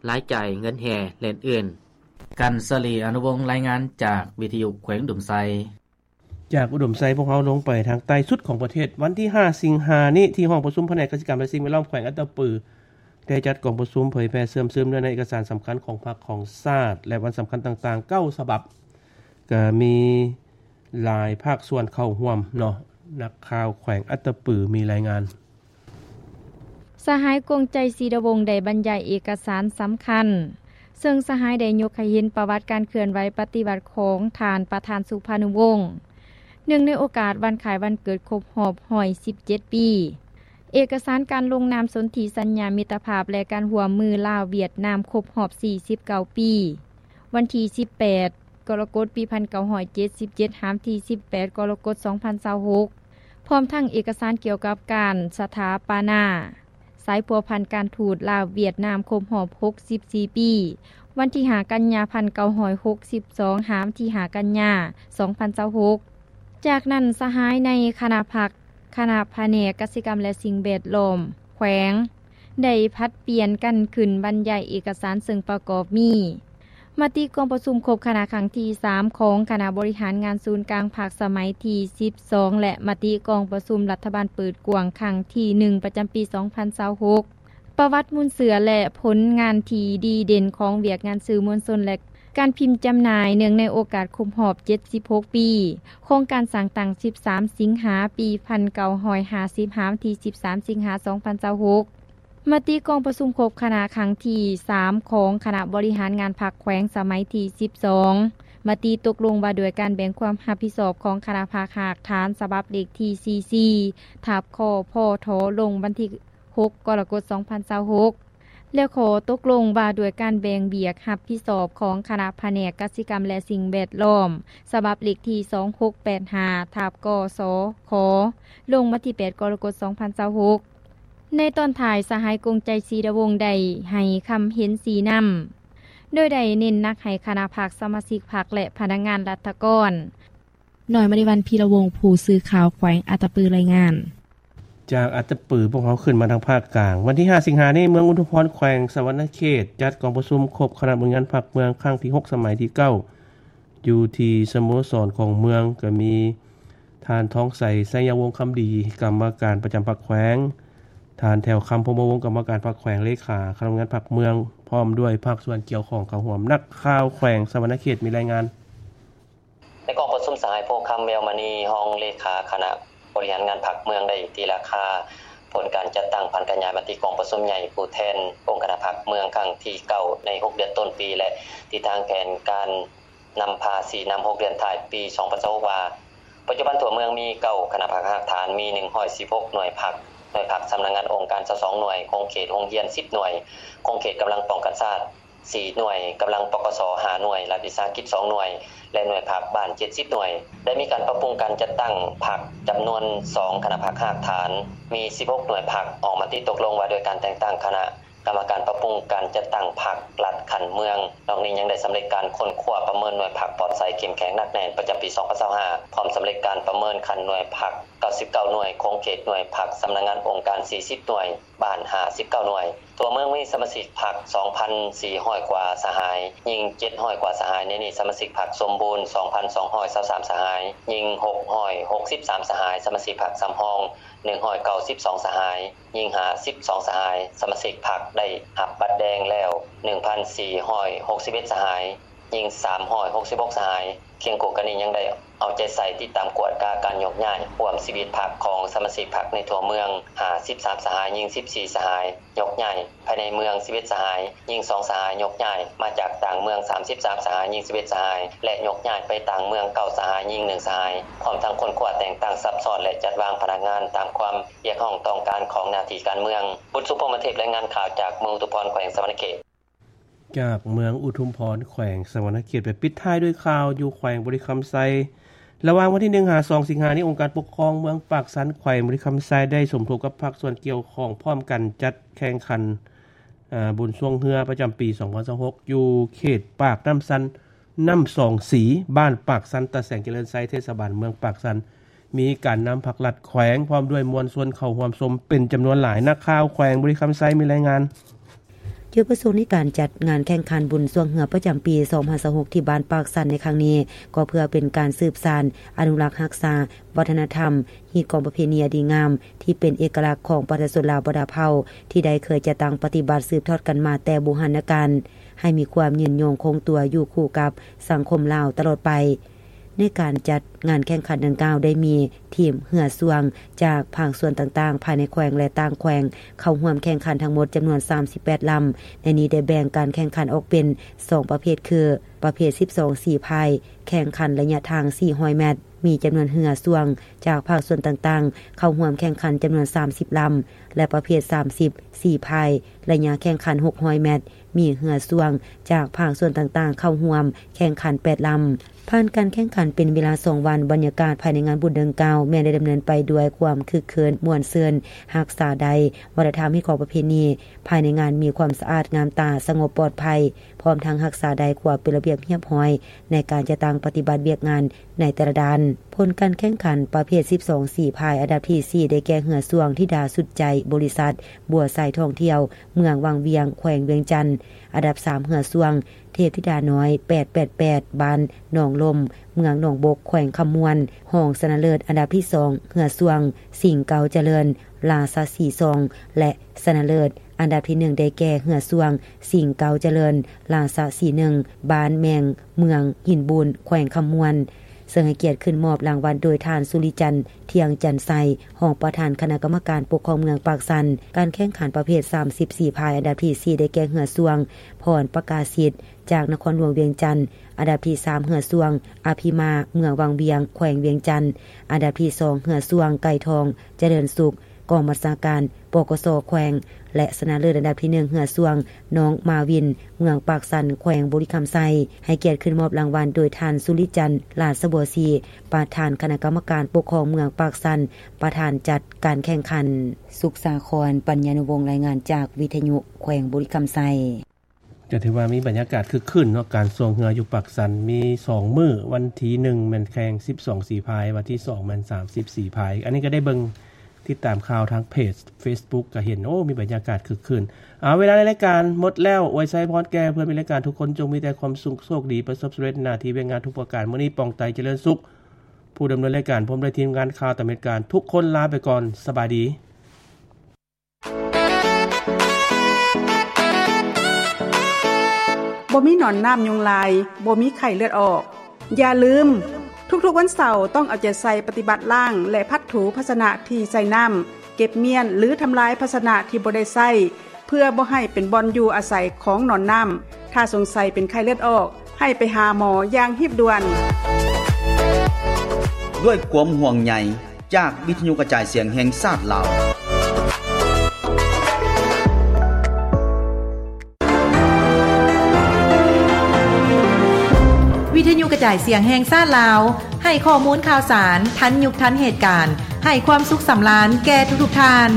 ລາຍຈ່າຍເງິນແຮ່ ແລະ ອື່ນໆ. ກັນສະລີ ອະນຸວົງ ລາຍງານຈາກວິທະຍຸແຂວງອຸດົມໄຊ. ຈາກອຸດົມໄຊ ພວກເຮົາລົງໄປທາງໃຕ້ສຸດຂອງປະເທດ. ວັນທີຫ້າສິງຫານີ້ ທີ່ຫ້ອງປະຊຸມພະແນກກະສິກຳ ແລະ ສິ່ງແວດລ້ອມແຂວງອັດຕະປື ໄດ້ຈັດກອງປະຊຸມເຜີຍແຜ່ເຊື່ອມຊຶມເນື້ອໃນເອກະສານສຳຄັນຂອງພັກຂອງຊາດ ແລະ ວັນສຳຄັນຕ່າງໆ ເກົ້າສະບັບ. ກໍມີຫຼາຍພາກສ່ວນເຂົ້າຮ່ວມເນາະ. ນັກຂ່າວແຂວງອັດຕະປືມີລາຍງານ. ສະຫາຍ ກົງໄຈ ສີດາວົງ ໄດ້ບັນຍາຍເອກະສານສຳຄັນ, ເຊິ່ງສະຫາຍໄດ້ຍົກໃຫ້ເຫັນປະຫວັດການເຄື່ອນໄຫວປະຕິວັດຂອງທ່ານປະທານ ສຸພານຸວົງ ເນື່ອງໃນໂອກາດວັນຄ້າຍວັນເກີດຄົບຮອບຮ້ອຍສິບເຈັດປີ, ເອກະສານການລົງນາມສົນທິສັນຍາມິດຕະພາບ ແລະ ການຮ່ວມມືລາວ-ຫວຽດນາມຄົບຮອບສີ່ສິບເກົ້າປີ, ວັນທີສິບແປດ ກໍລະກົດ ປີພັນເກົ້າຮ້ອຍເຈັດສິບເຈັດ ຫາມທີສິບແປດ ກໍລະກົດ ສອງພັນຊາວຫົກ ພ້ອມທັງເອກະສານກ່ຽວກັບການສະຖາປະນາສາຍພົວພັນການທູດລາວ-ຫວຽດນາມຄົບຮອບຫົກສິບສີ່ປີ, ວັນທີຫ້າ ກັນຍາ ພັນເກົ້າຮ້ອຍຫົກສິບສອງ ຫາມທີຫ້າ ກັນຍາ ສອງພັນຊາວຫົກ. ຈາກນັ້ນ ສະຫາຍໃນຄະນະພັກ ຄະນະພະແນກກະສິກຳ ແລະ ສິ່ງແວດລ້ອມແຂວງ ໄດ້ຜັດປ່ຽນກັນຂຶ້ນບັນຍາຍເອກະສານ ເຊິ່ງປະກອບມີ ມະຕິກອງປະຊຸມຄົບຄະນະຄັ້ງທີສາມຂອງຄະນະບໍລິຫານງານສູນກາງພັກສະໄໝທີສິບສອງ ແລະ ມະຕິກອງປະຊຸມລັດຖະບານເປີດກວ້າງຄັ້ງທີໜຶ່ງ ປະຈຳປີສອງພັນຊາວຫົກ, ປະຫວັດມູນເຊື້ອ ແລະ ຜົນງານທີ່ດີເດັ່ນຂອງວຽກງານສື່ມວນຊົນ ແລະ ການພິມຈຳໜ່າຍ ເນື່ອງໃນໂອກາດຄົບຮອບເຈັດສິບຫົກປີຂອງການສ້າງຕັ້ງ ສິບສາມ ສິງຫາ ປີພັນເກົ້າຮ້ອຍຫ້າສິບ ຫາ ວັນທີສິບສາມ ສິງຫາ ສອງພັນຊາວຫົກ. ມະຕິກອງປະຊຸມຄົບຄະນະຄັ້ງທີສາມຂອງຄະນະບໍລິຫານງານພັກແຂວງສະໄໝທີສິບສອງ, ມະຕິຕົກລົງວ່າດ້ວຍການແບ່ງຄວາມຮັບຜິດຊອບຂອງຄະນະພັກຮາກຖານ ສະບັບເລກທີສີ່ສີ່ ທັບ ຄພທ ລົງວັນທີຫົກ ກໍລະກົດ ສອງພັນຊາວຫົກ ແລະ ຂໍ້ຕົກລົງວ່າດ້ວຍການແບ່ງວຽກຮັບຜິດຊອບຂອງຄະນະພະແນກກະສິກຳ ແລະ ສິ່ງແວດລ້ອມ ສະບັບເລກທີສອງຫົກແປດຫ້າ ທັບ ກສຂ ລົງວັນທີແປດ ກໍລະກົດ ສອງພັນຊາວຫົກ. ໃນຕອນທ້າຍ ສະຫາຍ ກົງໄຈ ສີດາວົງ ໄດ້ໃຫ້ຄຳເຫັນຊີ້ນຳ ໂດຍໄດ້ເນັ້ນໜັກໃຫ້ຄະນະພັກ, ສະມາຊິກພັກ ແລະ ພະນັກງານລັດຖະກອນ. ນ້ອຍມະນີວັນ ພີລະວົງ ຜູ້ສື່ຂ່າວແຂວງອັດຕະປື ລາຍງານ. ຈາກອັດຕະປື ພວກເຮົາຂຶ້ນມາທາງພາກກາງ. ວັນທີຫ້າ ສິງຫານີ້ ເມືອງອຸທຸມພອນ ແຂວງສະຫວັນນະເຂດ ຈັດກອງປະຊຸມຄົບຄະນະບໍລິຫານງານພັກເມືອງຄັ້ງທີຫົກ ສະໄໝທີເກົ້າ ຢູ່ທີ່ສະໂມສອນຂອງເມືອງ, ກໍມີທ່ານ ທອງໄຊ ໄຊຍະວົງຄຳດີ ກຳມະການປະຈຳພັກແຂວງ, ທ່ານ ແຖວຄຳ ພົມມະວົງ ກຳມະການພັກແຂວງ, ເລຂາຄະນະບໍລິຫານງານພັກເມືອງ ພ້ອມດ້ວຍພາກສ່ວນກ່ຽວຂ້ອງເຂົ້າຮ່ວມ. ນັກຂ່າວແຂວງສະຫວັນນະເຂດມີລາຍງານ. ໃນກອງປະຊຸມ ສະຫາຍ ໂພຄຳ ແວວມະນີ ຮອງເລຂາຄະນະບໍລິຫານງານພັກເມືອງ ໄດ້ຕີລາຄາຜົນການຈັດຕັ້ງຜັນຂະຫຍາຍມະຕິກອງປະຊຸມໃຫຍ່ຜູ້ແທນອົງຄະນະພັກເມືອງຄັ້ງທີເກົ້າ ໃນຫົກເດືອນຕົ້ນປີ ແລະ ທິດທາງແຜນການນຳພາຊີ້ນຳຫົກເດືອນທ້າຍປີສອງພັນຊາວຫົກ ວ່າ ປັດຈຸບັນທົ່ວເມືອງມີເກົ້າຄະນະພັກຮາກຖານ, ມີໜຶ່ງຮ້ອຍສິບຫົກໜ່ວຍພັກ, ໜ່ວຍພັກສຳນັກງານອົງການຊາວສອງໜ່ວຍ, ຂົງເຂດໂຮງຮຽນສິບໜ່ວຍ, ຂົງເຂດກຳລັງປ້ອງກັນຊາດ ສີ່ໜ່ວຍ, ກຳລັງ ປກສ ຫ້າໜ່ວຍ, ລັດວິສາຫະກິດສອງໜ່ວຍ ແລະ ໜ່ວຍພັກບ້ານເຈັດສິບໜ່ວຍ. ໄດ້ມີການປັບປຸງການຈັດຕັ້ງພັກຈຳນວນສອງຄະນະພັກຮາກຖານ, ມີສິບຫົກໜ່ວຍພັກ, ອອກມະຕິຕົກລົງວ່າດ້ວຍການແຕ່ງຕັ້ງຄະນະກຳມະການປັບປຸງການຈັດຕັ້ງພັກລັດຂັ້ນເມືອງ. ນອກນີ້ຍັງໄດ້ສຳເລັດການຄົ້ນຄວ້າປະເມີນໜ່ວຍພັກປອດໃສເຂັ້ມແຂງໜັກແໜ້ນປະຈຳປີສອງພັນຊາວຫ້າ ພ້ອມສຳເລັດການປະເມີນຂັ້ນໜ່ວຍພັກ ເກົ້າສິບເກົ້າໜ່ວຍ, ຂົງເຂດໜ່ວຍພັກສຳນັກງານອົງການສີ່ສິບໜ່ວຍ, ບ້ານຫ້າສິບເກົ້າໜ່ວຍ. ທົ່ວເມືອງມີສະມາຊິກພັກສອງພັນສີ່ຮ້ອຍກວ່າສະຫາຍ, ຍິງເຈັດຮ້ອຍກວ່າສະຫາຍ, ໃນນີ້ສະມາຊິກພັກສົມບູນສອງພັນສອງຮ້ອຍຊາວສາມສະຫາຍ, ຍິງຫົກຮ້ອຍຫົກສິບສາມສະຫາຍ, ສະມາຊິກພັກສຳຮອງໜຶ່ງຮ້ອຍເກົ້າສິບສອງສະຫາຍ, ຍິງຫ້າສິບສອງສະຫາຍ, ສະມາຊິກພັກໄດ້ຮັບບັດແດງແລ້ວໜຶ່ງພັນສີ່ຮ້ອຍຫົກສິບເອັດສະຫາຍ, ຍິງສາມຮ້ອຍຫົກສິບຫົກສະຫາຍ. ຄຽງຄູ່ກັນນີ້ຍັງໄດ້ເອົາໃຈໃສ່ຕິດຕາມກວດກາການໂຍກຍ້າຍຮ່ວມຊີວິດພັກຂອງສະມາຊິກພັກໃນທົ່ວເມືອງຫ້າສິບສາມສະຫາຍ, ຍິງສິບສີ່ສະຫາຍ, ໂຍກຍ້າຍພາຍໃນເມືອງສິບເອັດສະຫາຍ, ຍິງສອງສະຫາຍ, ໂຍກຍ້າຍມາຈາກຕ່າງເມືອງສາມສິບສາມສະຫາຍ, ຍິງສິບເອັດສະຫາຍ ແລະ ໂຍກຍ້າຍໄປຕ່າງເມືອງເກົ້າສະຫາຍ, ຍິງໜຶ່ງສະຫາຍ, ພ້ອມທັງຄົ້ນຄວ້າແຕ່ງຕັ້ງຊັບຊ້ອນ ແລະ ຈັດວາງພະນັກງານຕາມຄວາມຮຽກຮ້ອງຕ້ອງການຂອງໜ້າທີ່ການເມືອງ. ບຸນສຸ ພົມມະເທບ ລາຍງານຂ່າວຈາກເມືອງອຸທຸມພອນ ແຂວງສະຫວັນນະເຂດ. ຈາກເມືອງອຸທຸມພອນ ແຂວງສະຫວັນນະເຂດ ໄປປິດທ້າຍດ້ວຍຂ່າວຢູ່ແຂວງບໍລິຄຳໄຊ. ລະຫວ່າງວັນທີໜຶ່ງຫາສອງສິງຫານີ້ ອົງການປົກຄອງເມືອງປາກຊັນ ແຂວງບໍລິຄຳໄຊ ໄດ້ສົມທົບກັບພາກສ່ວນກ່ຽວຂ້ອງ ພ້ອມກັນຈັດແຂ່ງຂັນ ອາ ບຸນຊ່ວງເຮືອປະຈຳປີສອງພັນຊາວຫົກ ຢູ່ເຂດປາກນ້ຳຊັນ ນ້ຳສອງສີ ບ້ານປາກຊັນ ຕາແສງຈະເລີນໄຊ ເທດສະບານເມືອງປາກຊັນ. ມີການນຳພັກລັດແຂວງ ພ້ອມດ້ວຍມວນຊົນເຂົ້າຮ່ວມຊົມເປັນຈຳນວນຫຼາຍ. ນັກຂ່າວແຂວງບໍລິຄຳໄຊມີລາຍງານ. ຈຸດປະສົງໃນການຈັດງານແຂ່ງຂັນບຸນຊ່ວງເຮືອປະຈຳປີສອງພັນຊາວຫົກ ທີ່ບ້ານປາກຊັນໃນຄັ້ງນີ້ ກໍເພື່ອເປັນການສືບສານ, ອະນຸລັກຮັກສາວັດທະນະທຳ, ຮີດຄອງປະເພນີອັນດີງາມ ທີ່ເປັນເອກະລັກຂອງປະຊາຊົນລາວບັນດາເຜົ່າ ທີ່ໄດ້ເຄີຍຈັດຕັ້ງປະຕິບັດສືບທອດກັນມາແຕ່ບູຮານນະການ ໃຫ້ມີຄວາມຍືນຍົງຄົງຕົວຢູ່ຄູ່ກັບສັງຄົມລາວຕະຫຼອດໄປ. ໃນການຈັດງານແຂ່ງຂັນດັ່ງກ່າວ ໄດ້ມີທີມເຮືອຊ່ວງຈາກພາກສ່ວນຕ່າງໆ ພາຍໃນແຂວງ ແລະ ຕ່າງແຂວງ ເຂົ້າຮ່ວມແຂ່ງຂັນທັງໝົດຈຳນວນສາມສິບແປດລຳ. ໃນນີ້ໄດ້ແບ່ງການແຂ່ງຂັນອອກເປັນສອງປະເພດ ຄື ປະເພດສິບສອງສີພາຍ ແຂ່ງຂັນໄລຍະທາງສີ່ຮ້ອຍແມັດ, ມີຈຳນວນເຮືອຊ່ວງຈາກພາກສ່ວນຕ່າງໆ ເຂົ້າຮ່ວມແຂ່ງຂັນຈຳນວນສາມສິບລຳ ແລະ ປະເພດສາມສິບສີພາຍ ໄລຍະແຂ່ງຂັນຫົກຮ້ອຍແມັດ, ມີເຮືອຊ່ວງຈາກພາກສ່ວນຕ່າງໆ ເຂົ້າຮ່ວມແຂ່ງຂັນແປດລຳ. ຜ່ານການແຂ່ງຂັນເປັນເວລາສອງວັນ, ບັນຍາກາດພາຍໃນງານບຸນດັ່ງກ່າວ ແມ່ນໄດ້ດຳເນີນໄປດ້ວຍຄວາມຄຶກຄື້ນມ່ວນຊື່ນ, ຮັກສາໄດ້ວັດທະນະທຳຮີດຄອງປະເພນີ. ພາຍໃນງານມີຄວາມສະອາດງາມຕາ, ສະຫງົບປອດໄພ, ພ້ອມທັງຮັກສາໄດ້ຄວາມເປັນລະບຽບຮຽບຮ້ອຍໃນການຈັດຕັ້ງປະຕິບັດວຽກງານໃນແຕ່ລະດ້ານ. ຜົນການແຂ່ງຂັນປະເພດສິບສອງສີພາຍ ອັນດັບທີສີ່ ໄດ້ແກ່ເຮືອຊ່ວງທິດາສຸດໃຈ ບໍລິສັດບົວໄຊທ່ອງທ່ຽວ ເມືອງວັງວຽງ ແຂວງວຽງຈັນ, ອັນດັບສາມ ເຮືອຊ່ວງເທບທິດານ້ອຍ ແປດແປດແປດ ບ້ານໜອງລົມ ເມືອງໜອງບົກ ແຂວງຄຳມ່ວນ, ຮອງຊະນະເລີດອັນດັບທີສອງ ເຮືອຊ່ວງສິງເກົາຈະເລີນ ລາຊະສີຊອງ ແລະ ຊະນະເລີດ ອັນດັບທີໜຶ່ງ ໄດ້ແກ່ເຮືອຊ່ວງສິງເກົາຈະເລີນ ລາຊະສີໜຶ່ງ ບ້ານແມງ ເມືອງຫີນບູນ ແຂວງຄຳມ່ວນ, ເຊິ່ງໃຫ້ກຽດຂຶ້ນມອບລາງວັນໂດຍທ່ານ ສຸລິຈັນ ທ່ຽງຈັນໄຊ ຮອງປະທານຄະນະກຳມະການປົກຄອງເມືອງປາກຊັນ. ການແຂ່ງຂັນປະເພດສາມສິບສີພາຍ ອັນດັບທີສີ່ ໄດ້ແກ່ເຮືອຊ່ວງ ພອນປະກາສິດ ຈາກນະຄອນຫຼວງວຽງຈັນ, ອັນດັບທີສາມ ເຮືອຊ່ວງ ອະພິມາ ເມືອງວັງວຽງ ແຂວງວຽງຈັນ, ອັນດັບທີສອງ ເຮືອຊ່ວງ ໄກ່ທອງ ຈະເລີນສຸກ ກອງບັນຊາການ ປກສ ແຂວງ ແລະ ຊະນະເລີດອັນດັບທີໜຶ່ງ ເຮືອຊ່ວງ ນ້ອງມາວິນ ເມືອງປາກຊັນ ແຂວງບໍລິຄຳໄຊ. ໃຫ້ກຽດຂຶ້ນມອບລາງວັນໂດຍທ່ານ ສຸລິຈັນ ລາຊະບົວສີ ປະທານຄະນະກຳມະການປົກຄອງເມືອງປາກຊັນ, ປະທານຈັດການແຂ່ງຂັນ. ສຸກສາຄອນ ປັນຍານຸວົງ ລາຍງານຈາກວິທະຍຸແຂວງບໍລິຄຳໄຊ. ກໍຖືວ່າມີບັນຍາກາດຄຶກຄື້ນເນາະ, ການຊ່ວງເຮືອຢູ່ປາກຊັນມີສອງມື້, ວັນທີໜຶ່ງແມ່ນແຂ່ງສິບສອງສີພາຍ, ວັນທີສອງແມ່ນສາມສິບສີພາຍ. ອັນນີ້ກໍໄດ້ເບິ່ງຕິດຕາມຂ່າວທາງເພຈ Facebook ກໍເຫັນ, ໂອ້ ມີບັນຍາກາດຄຶກຄື້ນ. ເອົາ ເວລາໃນລາຍການໝົດແລ້ວ. ອວຍໄຊພອນແກ່ເພື່ອນມີລາຍການທຸກຄົນ ຈົ່ງມີແຕ່ຄວາມສຸກໂຊກດີ ປະສົບສຳເລັດໜ້າທີ່ວຽກງານທຸກປະການ. ມື້ນີ້ ປອງໄຕ ຈະເລີນສຸກ ຜູ້ດຳເນີນລາຍການ ພ້ອມດ້ວຍທີມງານຂ່າວຕາມເຫດການ ທຸກຄົນລາໄປກ່ອນ. ສະບາຍດີ. ບໍ່ມີໜອນນ້ຳຍຸງລາຍ, ບໍ່ມີໄຂ້ເລືອດອອກ. ຢ່າລືມ, ທຸກໆວັນເສົາຕ້ອງເອົາໃຈໃສ່ປະຕິບັດລ້າງ ແລະ ພັດຖູພາຊະນະທີ່ໃສ່ນ້ຳ, ເກັບມ້ຽນ ຫຼື ທຳລາຍພາຊະນະທີ່ບໍ່ໄດ້ໃຊ້ ເພື່ອບໍ່ໃຫ້ເປັນບ່ອນຢູ່ອາໄສຂອງໜອນນ້ຳ. ຖ້າສົງໄສເປັນໄຂ້ເລືອດອອກ, ໃຫ້ໄປຫາໝໍຢ່າງຮີບດ່ວນ. ດ້ວຍຄວາມຫ່ວງໃຍຈາກວິທະຍຸກະຈາຍສຽງແຫ່ງຊາດລາວ. ວິທະຍຸກະຈາຍສຽງແຫ່ງຊາດລາວ ໃຫ້ຂໍ້ມູນຂ່າວສານທັນຍຸກທັນເຫດການ, ໃຫ້ຄວາມສຸກສຳລານແກ່ທຸກໆທ່ານ.